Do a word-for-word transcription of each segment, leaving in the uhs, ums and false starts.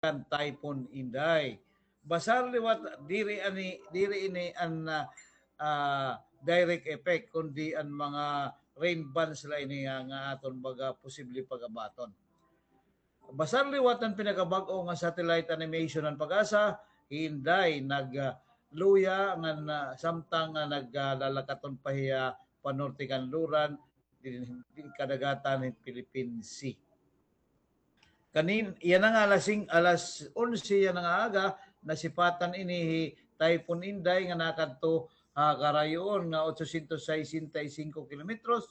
kan Typhoon Inday. Basar liwat, diri ani, diri ini an, ah, ah, direct effect, kundi an mga rain bands la ini nga, nga aton baga posible pag-abaton. Basar liwat an pinakabag-o nga satellite animation han PAGASA, hi Inday nag, ah, luya ngan, ah, samtang nga naglalakaton pa hiya panorte kanluran, di, di kadagatan hin Philippine Sea. Kanin, yana nga alas sing-, alas onse yana nga aga, nasipatan ini hi Typhoon Inday nga nakadto ha karayoon nga otsosientos sesenta y singko kilometros,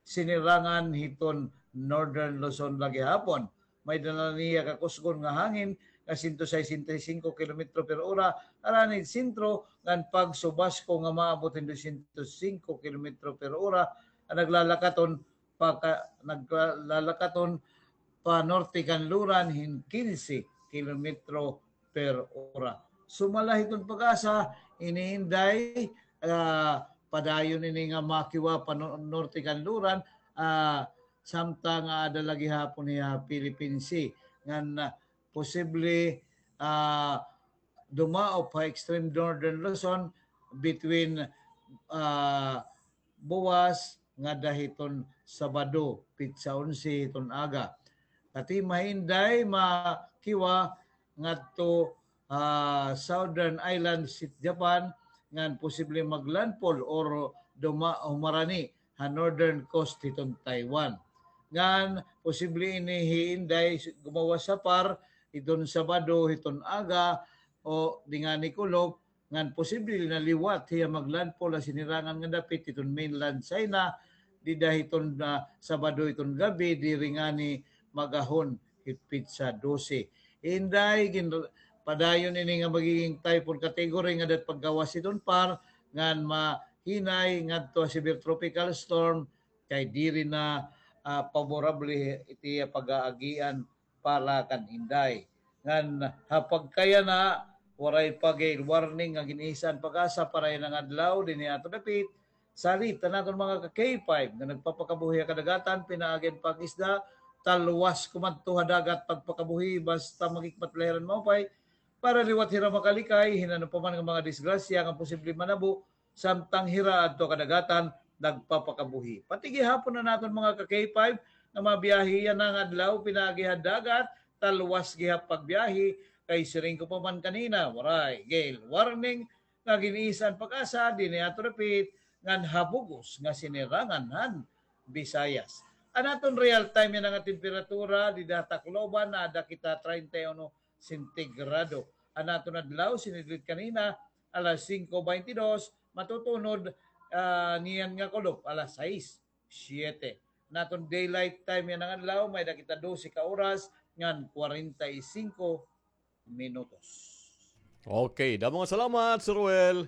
sinirangan hiton Northern Luzon la gihapon. May dala niya kakusgon nga hangin nga sento sesenta y singko kilometro per ora, alanid sentro, ngan pagsubasko nga maabot hin dosyentos singko kilometro per ora, nga naglalakaton pa ka-, naglalakaton pa norte kanluran hin kinse kilometro per ora. Sumala hiton PAGASA, ini Inday, ah, padayon ini nga makiwa pa no-, norte kanluran, ah, samtang, ah, aada la gihapon hiya Philippine Sea. Ngan, ah, posible, ah, dumaop ha extreme northern Luzon between, ah, buwas ngada hiton Sabado, petsa onse hiton aga. Kati mahinday makiwa ngadto, ah, southern islands hit Japan ngan posible maglandfall or duma-, humarani ha northern coast hiton Taiwan. Ngan posible ini hi Inday gumawas ha par hiton Sabado hiton aga o dingani kulop, ngan posible na liwat hiya maglandfall ha sinirangan nga dapit hiton mainland China, dida hiton, ah, Sabado hiton gab-i, diri ngani mag-ahon hit petsa dose. Inday, gin-, padayon ini nga magiging typhoon category nga dat paggawas hiton par, ngan mahinay ngadto ha severe tropical storm, kay diri na, ah, paborable iti pag-aagian para kan Inday. Ngan ha pagkayana, waray pa gale warning nga gin-iisa han PAGASA para yana nga adlaw dinhi ha aton dapit. Salit an aton mga ka-K five nga nagpapakabuhi ha kadagatan, pinaagi han pag-isda, talwas kumadto ha dagat pagpakabuhi, basta maghikmat la hira hin maupay, para liwat hira makalikay hin ano pa man nga mga disgrasya nga posible manabo, samtang hira adto ha kadagatan nagpapakabuhi. Pati gihapon an aton mga ka-K five nga mabiyahe yana nga adlaw pinaagi ha dagat, talwas gihap pagbiyahe, kay siring ko pa man kanina, waray gale warning nga gin-iisa han PAGASA dinhi ha aton dapit ngan ha bug-os nga sinirangan han Visayas. An aton real time yana nga temperatura dida ha Tacloban, naada kita treinta y uno sentigrado. An aton adlaw, sinidlit kanina, alas singko baynte dos, matutunod, ah, niyan nga kulop, alas sais, siyete. An aton daylight time yana nga adlaw, may-ada kita dose ka oras ngan kwarenta y singko minutos. Okay, damo nga salamat, Sir Ruel.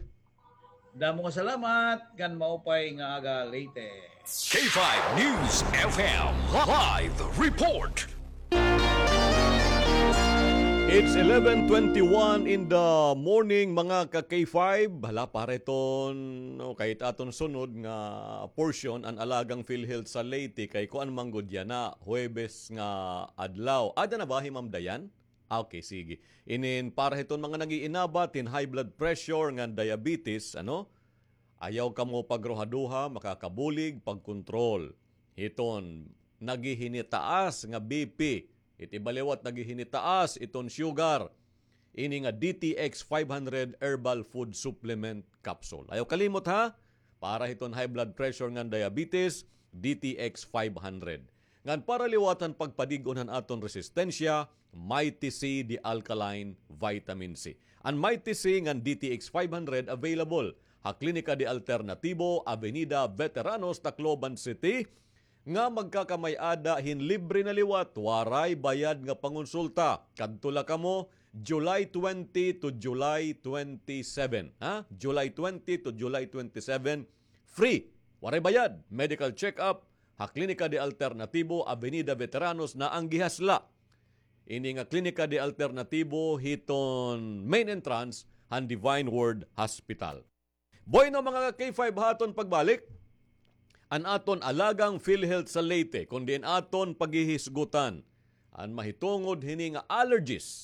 Damo nga salamat, ngan maupay nga aga, Leyte. K five News F M live report. It's eleven twenty-one in the morning, mga ka-K five. Hala, para iton, no, kay it aton sunod nga portion, an alagang PhilHealth sa Leyte, kay kuan man gud yana, Huwebes nga adlaw. Ada na ba hi Ma'am Dayan? Ah, okay, sige. Inin para hiton mga nag-iinabat hin high blood pressure ngan diabetes, ano? Ayaw kamo pagruhaduha, makakabulig pagkontrol hiton naghihinitaas nga B P. It iba liwat naghihinitaas iton sugar. Ini nga D T X five hundred herbal food supplement capsule. Ayaw kalimot, ha? Para hiton high blood pressure ngan diabetes, D T X five hundred. Ngan para liwat han pagpadig-on han aton resistensya, Mighty C, the alkaline vitamin C. An Mighty C ngan D T X five hundred available ha Klinika de Alternatibo, Avenida Veteranos, Tacloban City, nga magkakamay-ada hin libre na liwat, waray bayad nga pangonsulta. Kadto la kamo July twenty to July twenty-seven, ha? July twenty to July twenty-seven, free. Waray bayad. Medical check-up ha Klinika de Alternatibo, Avenida Veteranos, na an gihasla. Ini nga Klinika de Alternatibo hiton main entrance han Divine Word Hospital. Bueno, mga ka-K five, ha aton pagbalik, an aton alagang PhilHealth sa Leyte, kon diin aton paghihisgutan an mahitungod hini nga allergies.